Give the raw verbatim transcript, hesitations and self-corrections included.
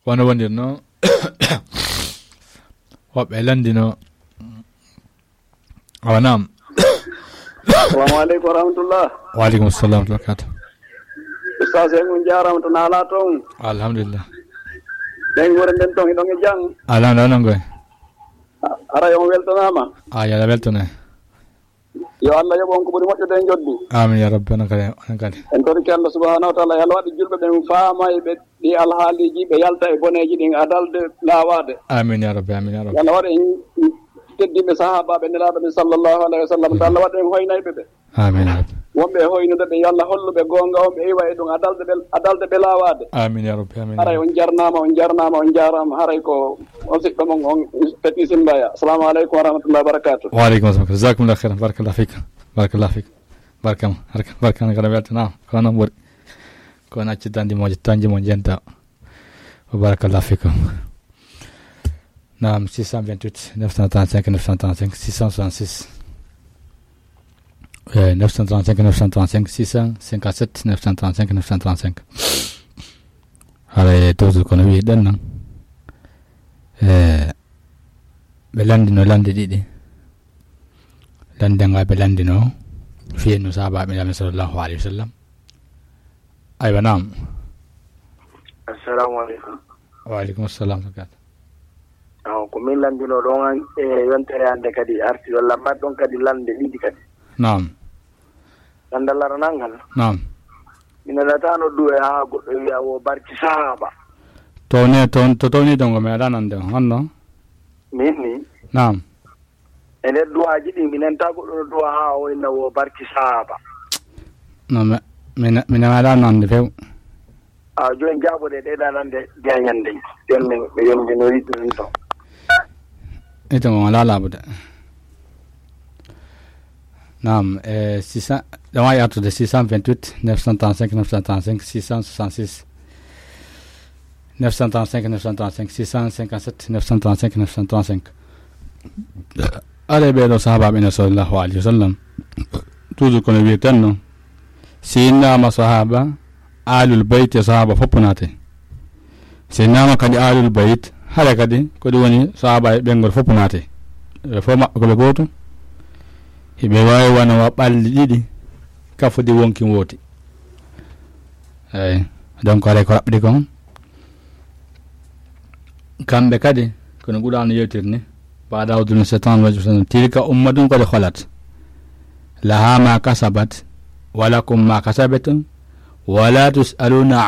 Wano wondirno. Woɓɓe landino. Awa, naam. Assalamu aleykum wa rahmatullah. Wa aleykum salam wa rahmatullah. Ustaz, en on jaarama to naala toon. Alhamdulillah. Ɓen wure nden toon, hiɗon e jam? Alhamdulillah, non koy. Haray on weltanaama. A, yo Allah weltane. Yo Allah yoɓ on ko ɓuri moƴƴude e njoddi. Amin ya rabbi, onon kadi, onon kadi. En torike Allah subhanahu wa taala, yo Allah waɗ julɓe ɓen faama e ɓe ɗi alhaaliiji, ɓe yalta e boneeji ɗin adalde laawaade. Amin ya rabbi, amin ya rabbi. Yo Allah waɗ en teddinɓe sahaabaaɓe Nelaaɗo ɓe sallallahu alayhi wa sallam, to Allah waɗ en hoynayɓe ɓe. Amin ya rabbi. Wonɓe e hoynude ɓe, yo Allah hollu ɓe goonga on, ɓe iwa e ɗum adalde ɓe, adalde ɓe laawaade. Amin ya rabbi, amin ya rabbi. Haray on jarnaama, on jarnaama, on jaaraama. Haray ko on siɗɗo mon on, Petit Simbaya. Assalamu aleykum wa rahmatullahi wa barakatuh. Wa aleykum salam. Jazakumullahu khairan. Barakallahu fik. Barakallahu fik. Barkam, barkam, barkam, kala weltanaama. Ko noon ɓuri. Ko on acci tan jimooje, tan jimo jenta. Wa barakallahu fikum. Naam, six cent vingt-huit, neuf cent trente-cinq, neuf cent trente-cinq, six cent soixante-six. Eh, neuf cent trente-cinq, neuf cent trente-cinq, six cent cinquante-sept, neuf cent trente-cinq, neuf cent trente-cinq. Haray toujours kono wiɗen non. Eh, ɓe landino lande ɗiɗi. Lande nga ɓe landino, fiyeno sahaabaaɓe Nulaaɗo sallallahu alayhi wa sallam. Aywa, naam. Assalamu aleykum. Wa aleykum assalam, Sakat. Aw, ko min landino ɗon an, e yontere hannde kadi arti, walla mbaɗ ɗon kadi lande ɗiɗi kadi. Naam. Lande laranal ngal. Naam. Mi nanata noddu e haa goɗɗo wiya wo barki sahaaba. To ne, to, to, to ni dongo mi aɗa nande on, honno? Min ni. Naam. E nder duwaaji ɗin, mi nanta goɗɗo no duwa haa o inna wo barki sahaaba. No, mi, mi, mi nanaɗa nande few. A, jooni jaaboɗe ɗe ɗa nande jañande. Jooni min, mi yondinori ɗum to. Ito mo wala laabude. Naam, eh, six cents, ɗon wawi artude six cent vingt-huit, neuf cent trente-cinq, neuf cent trente-cinq, six cent soixante-six. Neuf cent trente-cinq, neuf cent trente-cinq, six cent cinquante-sept, neuf cent trente-cinq, neuf cent trente-cinq. Aɗa ɓeeɗo sahaabaaɓe ene sallallahu alayhi wa sallam. Toujours kono wiirten no. Si innama sahaaba, alul bayt e sahaaba fof naate. Si innama kadi alul bayt, hara kadi ko ɗum woni sahaaba e ɓenngol fof naate. Ɓe fof maɓɓe ko ɓe gooto. Hiɓe waawi wano wa ɓalli ɗiɗi, kafudi wonki wooti. Eyi, donc, haray ko raɓɓiɗi kon. Kamɓe kadi, kono Qur'aana yewtiri ni, بعد أعوذ بالله من الشيطان الرجيم. تلك أمة قد خلت لها ما كسبت ولكم ما كسبتم ولا تسألون